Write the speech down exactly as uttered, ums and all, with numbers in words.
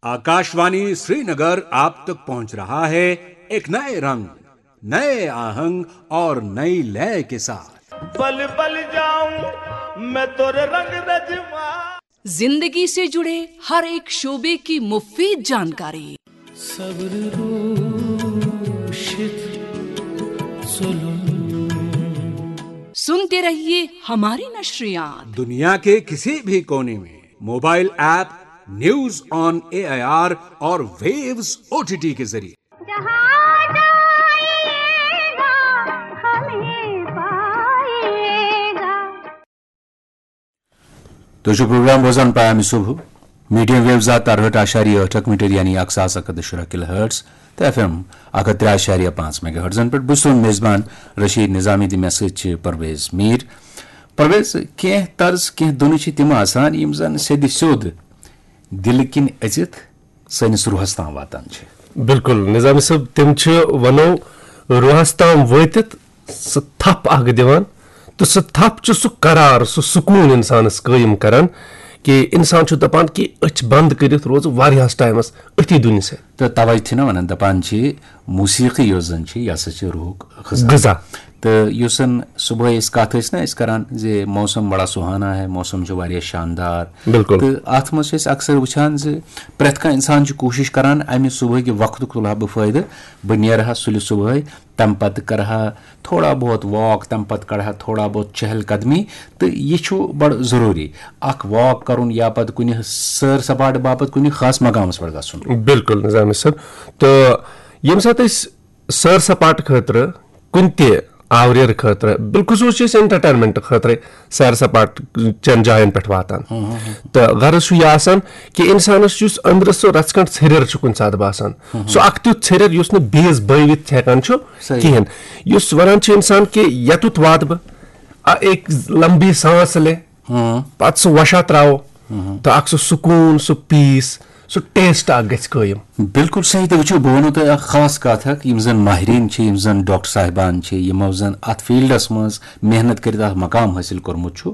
आकाशवाणी श्रीनगर आप तक पहुंच रहा है एक नए रंग, नए आहंग और नई लय के साथ। पल पल जाऊं मैं तोरे रंग रजवा। जिंदगी से जुड़े हर एक शोबे की मुफीद जानकारी। सब्र रोशित जुल्म। सुनते रहिए हमारी नशरियात। दुनिया के किसी भी कोने में mobile app news on AIR और वेव्स ओटीटी के जरिए। जहाँ जाएगा हमें पाएगा। تُہۍ چھِو پروگرام بوزان پیام صبح، میڈیم ویو زٕ ہَتھ تہٕ اَرہٲٹھ اعشاریہ ٲٹھ اکھ میٹر یعنی اکھ ساس اکھ ہَتھ تہٕ شُراہ کِلو ہٲٹز تہٕ ایف ایم اکھ ہَتھ ترٛےٚ اعشاریہ پانٛژھ میگا ہٲٹزن پٮ۪ٹھ۔ بہٕ چھُس تُہُنٛد میزبان رشید نظامی تہٕ مےٚ سۭتۍ چھِ پرویز میر۔ پرویز، کینٛہہ طرز، کینٛہہ دُنہٕ چھِ تِم آسان یِم زن سیٚدِ سیوٚد دِلہٕ کِنۍ أژِتھ سٲنِس روحس تام واتان چھِ۔ بِلکُل نظامی صٲب، تِم چھِ ونو روحس تام وٲتِتھ سُہ تھپھ اکھ دِوان، تہٕ سُہ تھپھ چھُ سُہ قرار، سُہ سکوٗن انسانس قٲیِم کران کہِ انسان چھُ دپان کہِ أچھ بند کٔرِتھ روزٕ واریاہس ٹایمس أتھی دُنہِ سۭتۍ۔ تہٕ توے چھِ نہ ونان، دپان چھِ موسیقی یۄس زن چھِ، یہِ ہسا چھِ روحُک غذا۔ غذا۔ تہٕ یُس زن صبحٲے أسۍ کتھ ٲسۍ نہ أسۍ کران زِ موسم بڑا سہانا ہے، موسم چھُ واریاہ شاندار۔ بِلکُل۔ تہٕ اتھ منٛز چھِ أسۍ اکثر وٕچھان زِ پرٛٮ۪تھ کانٛہہ انسان چھُ کوٗشش کران امہِ صبحٲے کہِ وقتُک تُلہٕ ہا بہٕ فٲیدٕ، بہٕ نیرٕ ہا سُلہِ صبحٲے، تمہِ پتہٕ کرٕ ہا تھوڑا بہت واک، تمہِ پتہٕ کرٕ ہا تھوڑا بہت چہل قدمی، تہٕ یہِ چھُ بڑٕ ضروٗری اکھ واک کرُن یا پتہٕ کُنہِ سٲر سپاٹہٕ باپتھ کُنہِ خاص مقامس پٮ۪ٹھ گژھُن۔ بِلکُل نظامی صٲب، تہٕ ییٚمہِ ساتہٕ أسۍ سٲر سپاٹہٕ خٲطرٕ کُنہِ تہِ آوریر خٲطرٕ، بالخصوٗص چھِ أسۍ انٹرٹینمنٹ خٲطرٕ سیر سپاٹ چٮ۪ن جاین پٮ۪ٹھ واتان۔ تہٕ غرض چھُ یہِ آسان کہِ انسانس یُس أنٛدرٕ سُہ رژھ کھنٛڈ ژھیٚریر چھُ کُنہِ ساتہٕ باسان، سُہ اکھ تیُتھ ژھیٚریر یُس نہٕ بیٚیِس بٲوِتھ ہٮ۪کان چھُ صحیح۔ کِہیٖنۍ، یُس ونان چھُ انسان کہِ یتُتھ واتہٕ بہٕ، آ، ایک لمبی سانس لے، ہاں۔ پتہٕ سُہ وشا تراوو، ہاں۔ تہٕ اکھ سُہ سکوٗن، سُہ پیٖس، سُہ ٹیسٹ اکھ گژھِ قٲیِم۔ بالکل صحیح۔ تُہۍ وٕچھِو، بہٕ وَنو تۄہہِ اکھ خاص کَتھ اکھ، یِم زَن ماہریٖن چھِ، یِم زَن ڈاکٹر صاحبان چھِ، یِمو زَن اَتھ فیٖلڈَس منٛز محنت کٔرِتھ اکھ مقام حٲصِل کوٚرمُت چھُ،